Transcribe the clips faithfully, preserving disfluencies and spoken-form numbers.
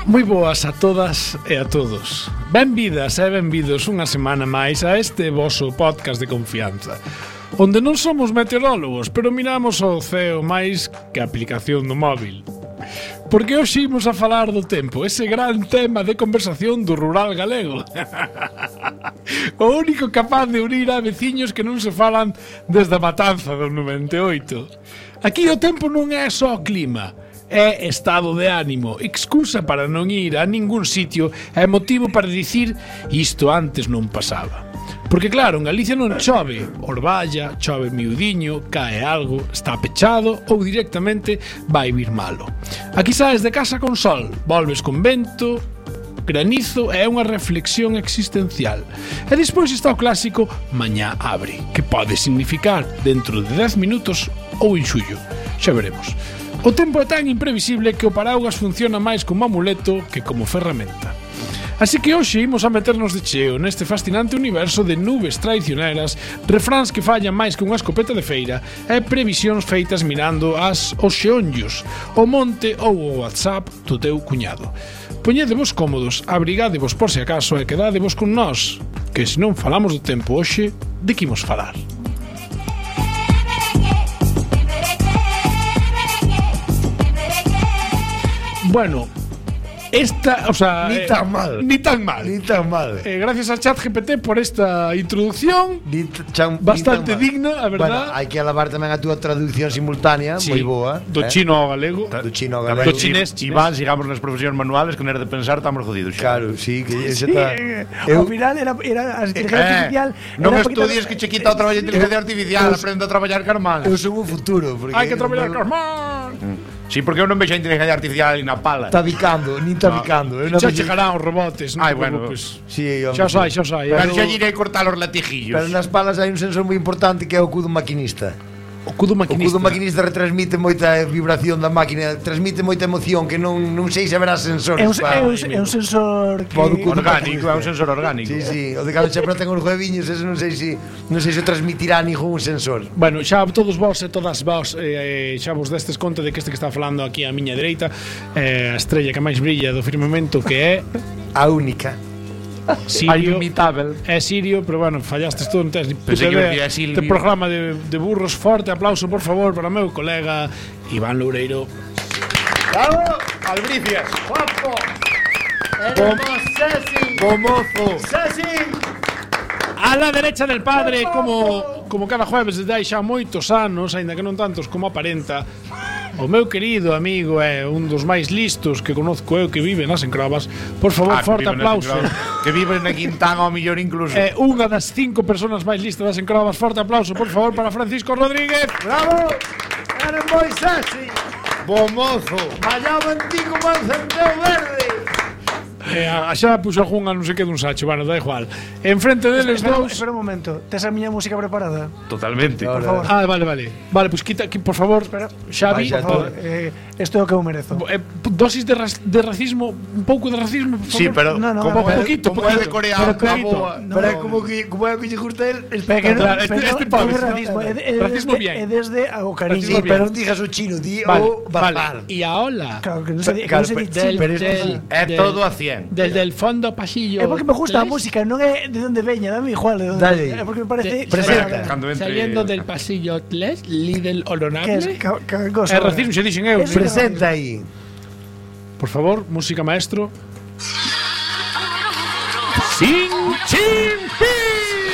Moi boas a todas e a todos. Benvidas e benvidos unha semana máis a este voso podcast de confianza, onde non somos meteorólogos, pero miramos ao ceo máis que a aplicación do móvil. Porque hoxe imos a falar do tempo, ese gran tema de conversación do rural galego. O único capaz de unir a veciños que non se falan desde a matanza do noventa e oito. Aquí o tempo non é só clima, é estado de ánimo, excusa para non ir a ningún sitio, é motivo para dicir isto antes non pasaba. Porque claro, en Galicia non chove, orballa, chove miudiño, cae algo, está pechado ou directamente vai vir malo. Aquí saes de casa con sol, volves con vento, granizo e unha reflexión existencial. E despois está o clásico mañá abre, que pode significar dentro de dez minutos ou en xullo. Xa veremos. O tempo é tan imprevisible que o paraugas funciona máis como amuleto que como ferramenta. Así que hoxe imos a meternos de cheo neste fascinante universo de nubes traicioneras, refráns que fallan máis que unha escopeta de feira e previsións feitas mirando as os xeonllos, o monte ou o WhatsApp do teu cuñado. Poñedevos cómodos, abrigadevos por se acaso e quedadevos con nós, que se non falamos do tempo hoxe, de que imos falar? Bueno, esta, o sea, ni tan mal, eh, ni tan mal, ni tan mal. Eh, gracias a ChatGPT por esta introducción, ni chan, bastante ni digna, a verdad. Bueno, hai que alabar tamén a túa traducción simultánea, sí, moi boa. Do eh? chino ao galego, do chino ao galego, do chinés. Si van, sigamos nas profesións manuales, que non era de pensar, estamos jodidos. Claro, sí, que sí, está. Eh, ao final era era a inteligencia eh, artificial. Non estudies que che quita o traballo de inteligencia artificial, aprende a traballar carmán. Eu son o futuro, porque hai que traballar carmán. Sí, porque eu non vexo a inteligencia artificial ali na pala. Está bicando, nin está no. bicando. Eu xa chegarán os robotes, non? Ai, bueno, pues, sí, xa sai, xa sai. Pero xa irei cortar os latijillos. Pero nas palas hai un sensor moi importante que é o cudo maquinista. O cudo maquinista. O cudo maquinista retransmite moita vibración da máquina, transmite moita emoción que non non sei se haberá sensores. É un, é un, é un sensor que... orgánico, é un sensor orgánico. Sí, sí, o de cando xa ten os hueviños, ese non sei se non sei se transmitirá ningún sensor. Bueno, xa todos vós e todas vós eh, xa vos destes conta de que este que está falando aquí á miña dereita, eh, a estrella que máis brilla do firmamento, que é a única. Sirio, inimitable. É Sirio, pero bueno, fallastes todo, non tes ni puta idea. Este programa de, de burros. Forte aplauso, por favor, para o meu colega Iván Loureiro. Bravo, Albricias. Guapo. Eremos Ceci. Gomozo. Ceci. A la derecha del padre, como como cada jueves desde hai xa moitos anos, aínda que non tantos como aparenta, o meu querido amigo é un dos máis listos que conozco eu, que vive nas Encrobas. Por favor, ah, forte aplauso. Que vive na Quintana ao millón incluso. É unha das cinco personas máis listas das Encrobas. Forte aplauso, por favor, para Francisco Rodríguez. Bravo. Eres moi sexy. Bomozo. Mallaba en ti como un centeo verde. Eh, xa puxo algunha non sei que dun sacho, bueno, da igual. Enfrente deles espera, dous. Espera un momento, tes a miña música preparada? Totalmente. Por favor. Ah, vale, vale. Vale, pois pues quita, por favor, espera. Xavi, por favor, eh, isto é o que eu merezo. Eh, dosis de, ras, de racismo, un pouco de racismo, por favor. Sí, pero no, no, como, no, poquito, como é de Corea, pero boa. No, pero como que como é que lle gusta el, espera que claro, este, este pobre, no, racismo, é, é, racismo desde, bien. É desde o cariño. Sí, pero non digas o chino, di vale, o barbar. Vale. E a ola. Claro, que non se, claro, que non se del, del, del, é del, todo a cien. Desde el fondo pasillo. É porque me gusta a música, non é de onde veña, dame igual de onde. Dale. É porque me parece De, presenta. Entre... Saliendo del pasillo tres, Lidl honorable. Que es ca, ca cosa. É racismo, xe dixen eu. Presenta aí. Por favor, música maestro. Sin chin ping.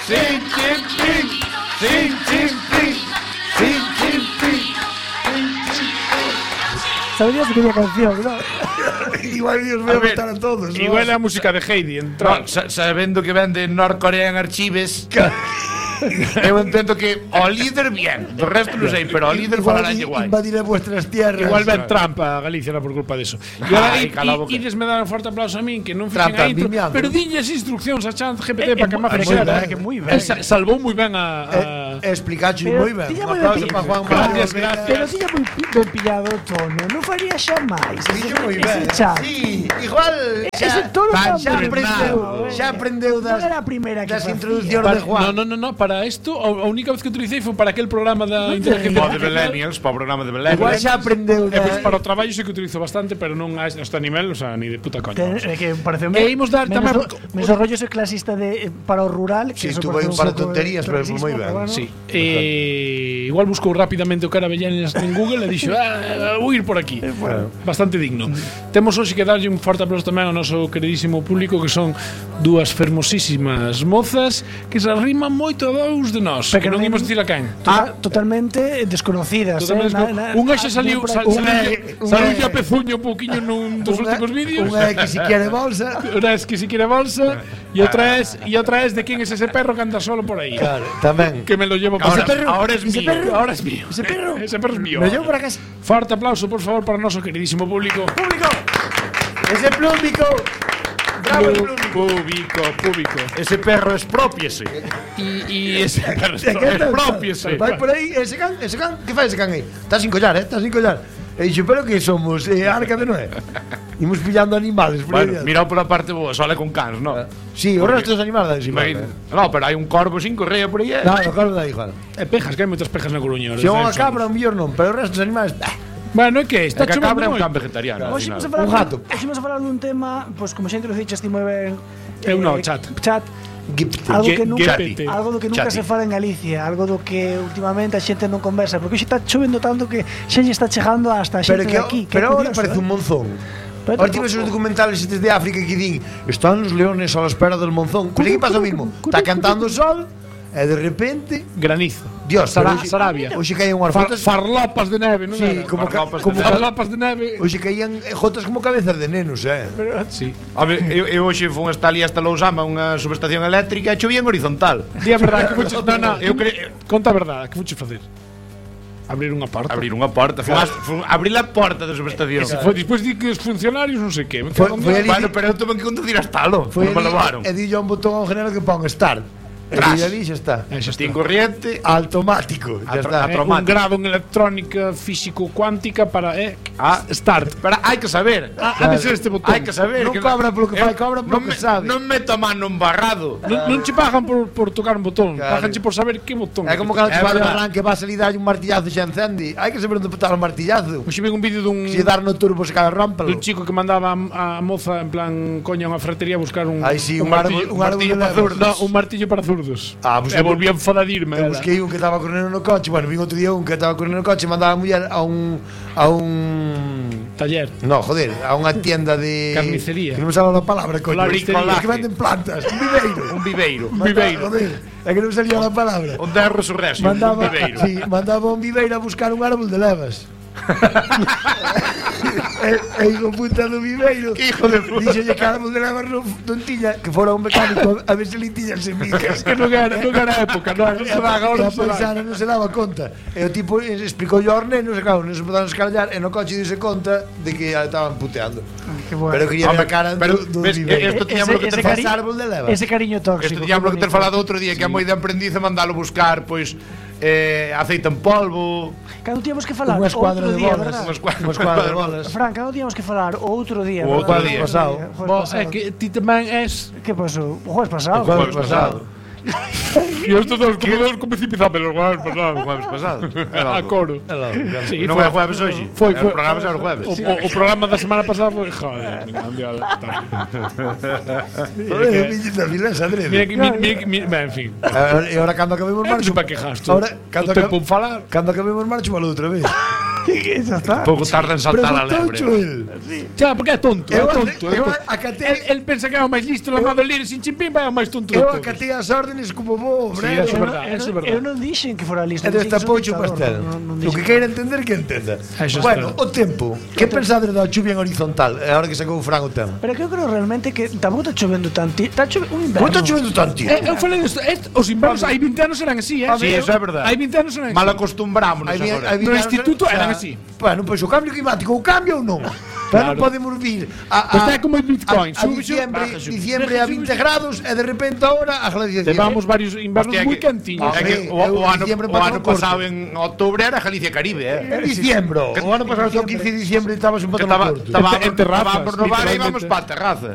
Sin chin ping. Sin chin ping. Sin chin ping. Saberías que é a canción, non? Igual os vou botar a todos. Igual é a música de Heidi, entra. No, sa sabendo que ven de North Korean Archives. Eu entendo que o líder bien, do resto non sei, pero o líder falará igual. Invadir as vuestras tierras. Igual ven Trump a Galicia por culpa deso. E agora Ai, ides me dar un forte aplauso a min, que non fixen Trump, a intro, vimiando. pero dinlles instruccións a ChatGPT para que me moi fixera. ben, que moi ben. Salvou moi ben a, a... Eh, explicacho Pero moi ben. tiña Un moi aplauso ben para Juan Gracias, Mario. gracias. Pero tiña moi ben pillado o tono, non faría xa máis. Dixo moi ben. Ese chat. Sí, igual Ese xa, tono xa tan aprendeu, bravo, xa aprendeu das non era a primeira que das facía. introduccións Vale, de Juan. no, no, no, no, para isto, a única vez que utilicei foi para aquel programa da inteligencia O de Millennials, para o programa de Millennials. Igual xa aprendeu E pois da... para o traballo sei que utilizo bastante, pero non a este nivel, o sea, ni de puta coña. Ten, vamos. é que parece E imos dar menos, tamén- do- menos o rollo ese clasista de eh, para o rural, que Sí, eso tuvo parece un par de pouco tonterías, pero progresismo, moi ben. bueno. Sí. Eh, igual buscou rapidamente o cara Avellanes en Google e dixo, ah, vou ir por aquí. Bastante digno. Temos hoxe que darlle un forte aplauso tamén ao noso queridísimo público, que son dúas fermosísimas mozas que se arriman moito a dous de nós, Pero que non que imos non- dicir a quen. Tota- totalmente desconocidas, Totalmente eh, desco- Unha xa saliu, sal, Unha é- saliu, unha saliu é- a pezuño un pouquiño nun dos Unha- últimos vídeos. Unha é que si quere bolsa. Una es que si quiere bolsa y otra es y otra es de quién es ese perro que anda solo por ahí. Claro, tamén. Que me lo llevo Ahora, para ahora es ese mío. perro, ahora es mío. Ese perro. Ese perro es mío. Me lo llevo para casa. Fuerte aplauso, por favor, para nuestro queridísimo público. Público. Ese plúmbico. Bravo, el plúmbico. Público, público. Ese perro expropiese. Y, y ese perro E que tal? expropiese. Vai por aí, ese can, ese can, que fai ese can aí? Está sin collar, eh? Está sin collar. E dixo, pero que somos? Eh, Arca de Noé. Imos pillando animales por aí. Bueno, mirao pola parte boa, sole con cans, ¿no? Sí, o resto dos animales dan Imagina. igual. No, pero hai un corvo sin correa por aí, eh? No, no, claro, da igual. E pejas, que hai moitas pejas na Coruña. Se é unha cabra, un millor non, pero o resto dos animales... bah. Bueno, é que está É que a cabra é chovendo un can moito. vegetariano. al Hoxe final. vamos a falar Un gato. Hoxe vamos a falar dun tema, pois como xa introduciches ti moi ben. Eu no, chat. Chat. Gipte. Algo Ge- que nunca, Gepete. algo do que nunca Chati. se fala en Galicia, algo do que últimamente a xente non conversa, porque hoxe está chovendo tanto que xa lle está chegando hasta a Pero xente que de aquí, que pero é ahora curioso, parece eh? un monzón. Pero Ahora tampoco- tives os documentales estes de África que din están los leones a la espera del monzón. Pues aquí pasa o mismo. Está cantando o sol e de repente, Granizo. Dios, Sara- pero hoxe- Sarabia. Hoxe caían unhas Far, gotas, farlopas de neve, non sí, era? como ca- Farlopas de como neve. Farlopas de neve. hoxe caían gotas como cabezas de nenos, eh. Pero, sí. A ver, eu, eu hoxe fun hasta ali hasta Lousama, unha subestación eléctrica, e chovía en horizontal. Di a verdade, que fuches... No, no, Eu cre... conta a verdade, que fuches facer? Abrir unha porta. Abrir unha porta, fun, as- fun, abrir a porta da subestación. Se foi despois di que os funcionarios non sei que. Me Foi- cago en foi Dios. ali- Bueno, pero eu tuve que conducir hasta lo, Foi non me levaron. e dillo un botón ao general que pon start. E Tras. dillo ali xa está. Eh, xa está. Tin corriente, Automático, xa Atro- está. atro- Eh, un automático. grado en electrónica físico-cuántica para eh, Ah, start. pero hai que saber. Ah, ha de ser este botón. Hai que saber. Non que cobra polo que eu- fai, cobra polo non que me- sabe. Non meto a mano embarrado. Non, non che pagan por, por tocar un botón, Claro. paganche por saber que botón. É como cando É te vai de verdad. arranque vas a salir dalle un martillazo e xa encende. Hai que saber onde botar o martillazo. Hoxe vi un vídeo dun, Se dar no turbo se cada rómpalo. dun chico que mandaba a, a moza en plan coña a unha ferretería a buscar un, Ai, sí, un martillo, árbol- un árbol martillo de para levas. zurdos. No, un martillo para zurdos. Ah, pues e eu- volví a enfadarme. Eu busquei un que estaba correndo no coche. Bueno, vin outro día un que estaba correndo no coche e mandaba a muller a un a un Taller. no, joder, a unha tienda de Carnicería. Que non me sale a palabra, coño. Floristería. Que venden plantas, un viveiro. Un viveiro. Un viveiro. Joder, é que non me salía a palabra. Un derro surrexio, un Mandaba, viveiro. sí, mandaba un viveiro a buscar un árbol de levas. e, e hijo puta do viveiro. Hijo de puta. Dixolle que árbol de levas non, non tiña, que fora un mecánico a ver se li tiñan semillas. Que non era, non era época, non, non se dá, agora E a non se dá. paisana non se daba conta. E o tipo explicou aos nenos, e claro, non se podaron escarallar, e no coche dise conta de que a estaban puteando. Que bueno. Pero quería ver a cara pero, do, do ves, viveiro. esto tiñamos que ese, ter cari- Ese árbol de levas. ese cariño tóxico. Isto tiñamos que ter bonito. falado outro día, que é moi de aprendiz a mandalo buscar, pois, eh, aceite en polvo, Cando tíamos que falar Unha escuadra outro de día, bolas. verdad? unha escuadra, Unha escuadra de bolas. Fran, cando tíamos que falar o outro día, O outro verdad? día. pasado. Jueves Bo, pasado. é que ti tamén es... Que pasou? O jueves pasado. O jueves pasado. Yo estos dos comedores como si empezaba los jueves o pasados. jueves pasado. A coro. Sí, Non foi- é jueves hoxe. Foi, O foi. programa xa é o jueves. O, o, o programa da semana pasada foi... Joder, mundial. Joder, viñita vilesa, Mira adrede. que... Mira, mira, mira, ben, en fin. E agora cando acabemos Non marcho. sei para que gasto. Ahora, cando, O tempo acab- en falar. cando acabemos marcho, malo outra vez. Xa está. Pouco tarda en saltar a lebre. Preguntou el. Xa, porque é tonto, é Eu, tonto. é eu tonto. acatei, El, el pensa que é o máis listo, la madre lire sin chimpín, vai o máis tonto de eu todos. acatei as órdenes como vos, Sí, obrero. eso é Eu verdade, non- eso é eu non- verdade. Eu non dixen que fora listo. E dixen desta que son poucho dictador, pastel. non- non O dixen que queira entender que entenda. Eso Bueno, está. o tempo. Que pensades da chuvia en horizontal? É ahora que sacou o Fran o tema. Pero que eu creo realmente que tampouco está chovendo tanto. Está chovendo un inverno. Como está chovendo tanto? Eh, eu falei disto, est- os invernos hai vinte anos eran así, eh? Sí, eso é verdade. Hai vinte anos eran así. Mal acostumbrámonos Aí vi- agora. aí vi- No instituto o sea, eran así. Bueno, pois o cambio climático, o cambio ou non? Pero non Claro. podemos vir a, a, Pues está como el Bitcoin, a, a sube, sube, diciembre, baja, sube. diciembre a vinte grados e de repente ahora a glaciación. Levamos varios invernos Hostia, moi que- cantiños. É que Hombre, o, eu o ano, diciembre o pasou ano corto. pasado en outubro era Galicia Caribe, eh? En diciembre. O ano pasado, o quince de diciembre, estabas un Que pouco estaba, no corto. estaba, En terrazas, estaba por Novara e íbamos literalmente. para a terraza.